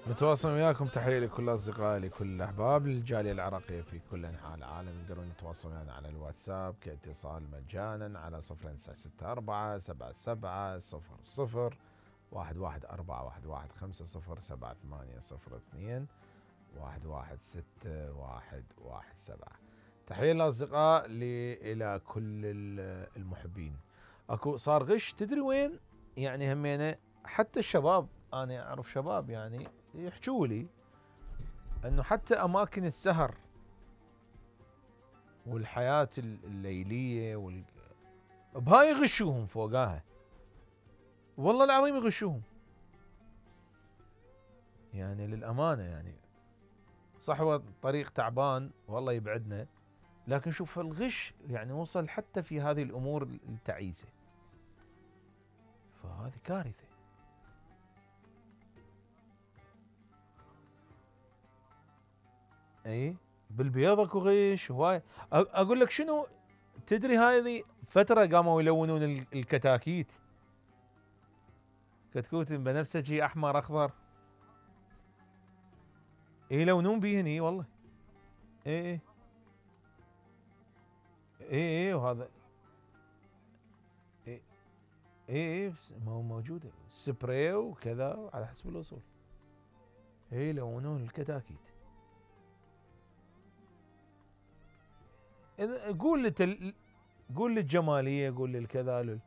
متواصل وياكم، تحية لكل أصدقائي لكل الأحباب للجالية العراقية في كل أنحاء العالم. يقدرون يتواصلون ويانا على الواتساب كاتصال مجانا على 0964 00 11 415 078 116 117. تحية للأصدقاء إلى كل المحبين. أكو صار غش، تدري وين؟ يعني همينة حتى الشباب، أنا أعرف شباب يعني يحجوا لي أنه حتى أماكن السهر والحياة الليلية بهاي يغشوهم فوقاها، والله العظيم يغشوهم. يعني للأمانة يعني صح هو طريق تعبان والله يبعدنا، لكن شوف الغش يعني وصل حتى في هذه الأمور التعيسة، فهذه كارثة. اي بالبيض اكو غش هواي. اقول لك شنو، تدري هذه فترة قاموا يلونون الكتاكيت، كتكوت بنفسجي احمر اخضر يلونون بيهن. اي والله. اي اي اي اي وهذا اي اي اي موجودة سبراي وكذا على حسب الوصول. اي يلونون الكتاكيت. قول قول للجمالية، قول للكذا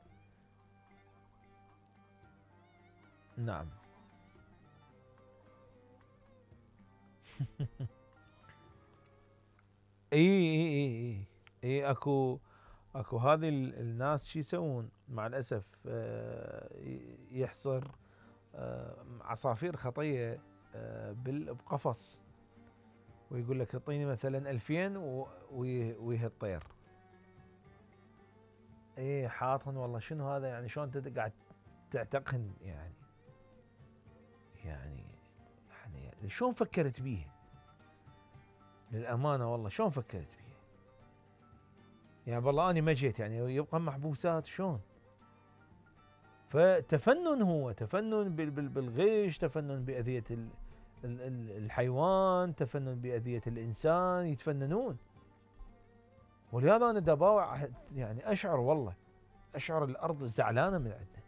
نعم. اي اي اي اي اي اكو هذه الناس شو يسوون مع الاسف، يحصر عصافير خطيه بقفص، ويقول لك اعطيني مثلا 2000 ويه الطير. اي حاطهن والله. شنو هذا يعني؟ شلون انت قاعد تعتقهن يعني شلون فكرت بيه؟ للامانه والله شلون فكرت بيه؟ يعني والله اني ما جيت يعني يبقى محبوسات شلون؟ فتفنن، هو تفنن بالغش، تفنن بأذية الحيوان، تفنن بأذية الإنسان، يتفننون. ولهذا أنا دباوع يعني أشعر والله، أشعر الأرض زعلانة من عندنا،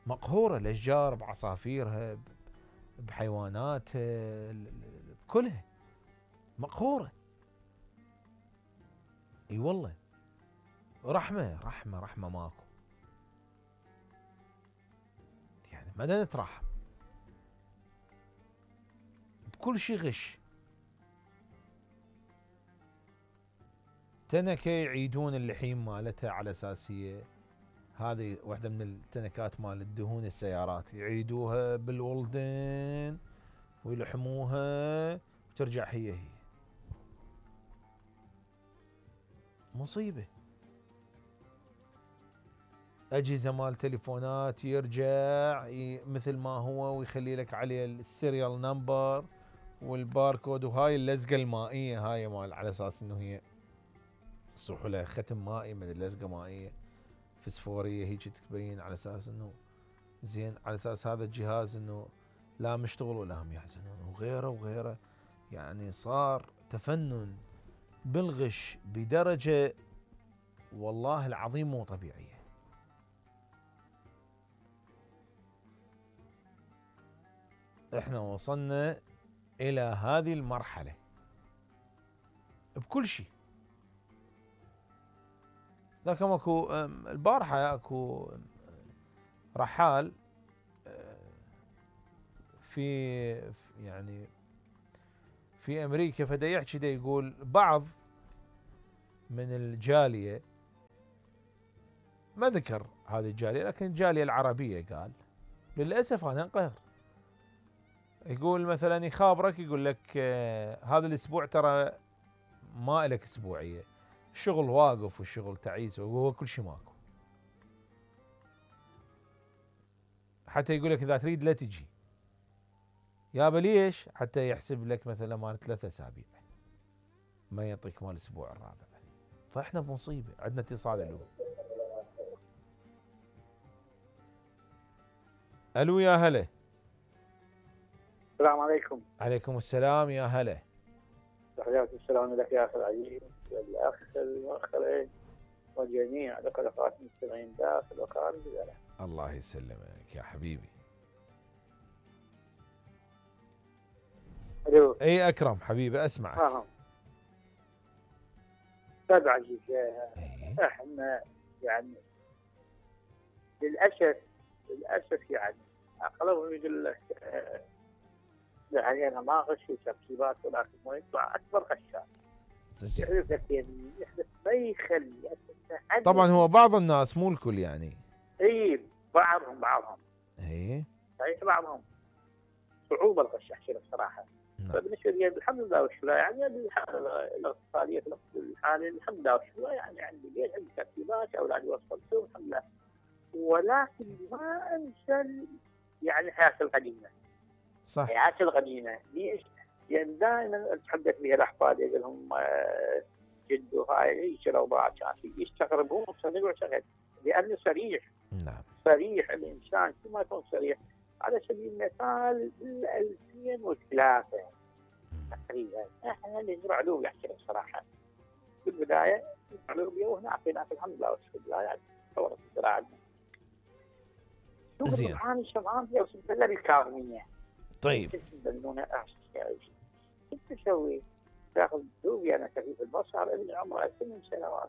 مقهورة، الأشجار بعصافيرها بحيواناتها كلها مقهورة. اي والله. رحمة ماكو، يعني ما نترحم، بكل شيء غش. تنكة يعيدون اللحيم مالتها على اساس هذه واحدة من التنكات مال الدهون السيارات، يعيدوها بالولدن ويلحموها وترجع هي مصيبة. أجهزة مال تليفونات يرجع مثل ما هو، ويخلي لك عليه السيريال نمبر والباركود، وهاي اللزقة المائية هاي مال على اساس انه هي صح لها ختم مائي من اللزقة مائية فسفورية هيك تبين على اساس انه زين، على اساس هذا الجهاز انه لا مشتغل ولا هم يحزنون وغيره وغيره. يعني صار تفنن بالغش بدرجة والله العظيم مو طبيعية. احنا وصلنا الى هذه المرحلة بكل شيء. لكن اكو البارحة اكو رحال في يعني في امريكا، فدا يحكي دا يقول بعض من الجالية، ما ذكر هذه الجالية لكن الجالية العربية، قال للأسف أنا انقهر. يقول مثلا يخابرك يقول لك هذا الأسبوع ترى ما إلك أسبوعية، الشغل واقف والشغل تعيس وهو كل شيء ماكو. حتى يقول لك إذا تريد لا تجي يابا ليش؟ حتى يحسب لك مثلا مال 3 أسابيع، ما يعطيك مال الأسبوع الرابع. فإحنا بمصيبة. عندنا اتصال. ألو يا هلا. السلام عليكم. عليكم السلام يا هلا. تحياتي السلام لك يا اخي العزيز والاخ المؤخرين وجميع الاخوات المستمعين داخل وخارج البلد. الله يسلمك يا حبيبي. الو. اي اكرم حبيبي اسمعك. استاذ عزيز، إيه؟ احنا يعني للاسف يعني اغلبهم يقول لك يعني انا ما اغش في تركيبات، ولكن ما يطلع اكبر غشاش. يحدث لك يعني يحدث ما يخلي طبعا هو بعض الناس مو الكل يعني. اي بعضهم ايه صحيح بعضهم صعوبه الغش احكي لك صراحه. نعم. فبالنسبه لي الحمد لله والشكر يعني الحاله الاقتصاديه في الوقت الحالي الحمد لله والشكر يعني عندي بيت عندي ترتيبات اولادي وصلتهم الحمد لله، ولكن ما انسى يعني الحياه القديمه. صح. الحياه القديمه ليش؟ لان دائما اتحدث بها الاحفاد يقول لهم جدو هاي شربات كان يستغربون صدق وشغل لانه صريح. نعم. صريح الانسان كل ما يكون صريح. على سبيل المثال 2003 تقريبا احنا نزرع لوبيا احكي لك صراحه. في البدايه نزرع لوبيا وهناك الحمد لله والشكر لله يعني تطورت الزراعه. زين. انا شبعان فيها وصلت لها بالكاظميه. طيب. كنت تبنونه كنت اسوي؟ تاخذ لوبيا انا خفيف البصر ابن عمره 8 سنوات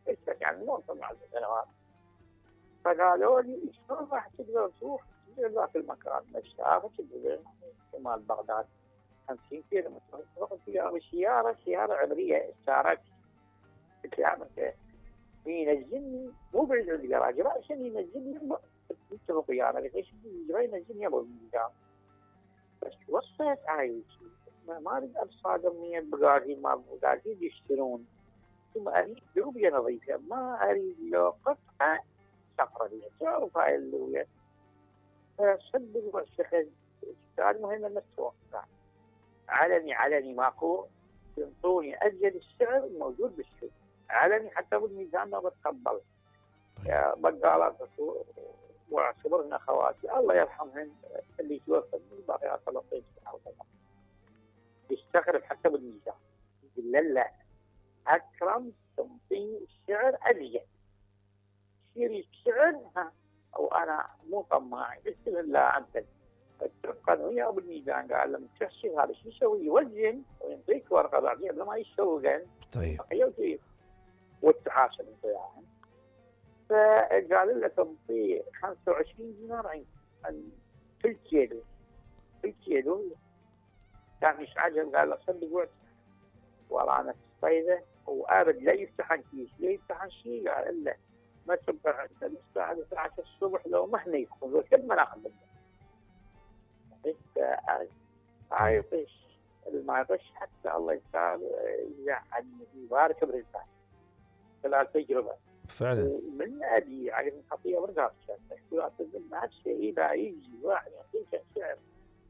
كنت يعني مو 8 سنوات. فقالوا لي شلون راح تقدر تروح ذاك المكان مسافه تقدر شمال بغداد 50 كيلو متر تروح فيها سياره عمريه اشترت. قلت له ينزلني مو بعيد عند الجراج راسا ينزلني اتفق ويانا قلت ليش ينزلني ابو الميزان بس وصلت عايش ما اريد اصادم من البقالين ما البقالين يشترون ثم اريد لوبيا نظيفه ما اريد له قطعه صفرة لي تعرف هاي اللوبيا فصدق والسخن كان مهم ان تتوقع علني ماكو ينطوني ازيد السعر الموجود بالسوق علني حتى بالميزان ما بتقبل. يا بقالات واعتبرن اخواتي الله يرحمهن اللي توفوا الباقيات فلسطين يستغرب حتى بالميزان يقول لا اكرم تنطيني السعر ازيد يصير السعر او انا مو طماع قلت له لا انت اتفقا وياه بالميزان قال لما تحسب هذا شو يسوي يوزن ويعطيك ورقه بعدين قبل ما يسوقن. طيب. والتحاسب انت يعني. فقال له تنطيه 25 دينار عن كل كيلو كان مش عجب قال له صدق وقت والله انا صيده وابد لا يفتح كيس لا يفتح شيء قال له ما تبقى عند الساعه 9 الصبح لو ما احنا يدخل قد ما ناخذ منه. عايطش ما يطش حتى الله يعني يبارك برزقه. خلال تجربه فعلا من ادي على الخطيه ورقات ما شيء لا يجي واحد يعطيك السعر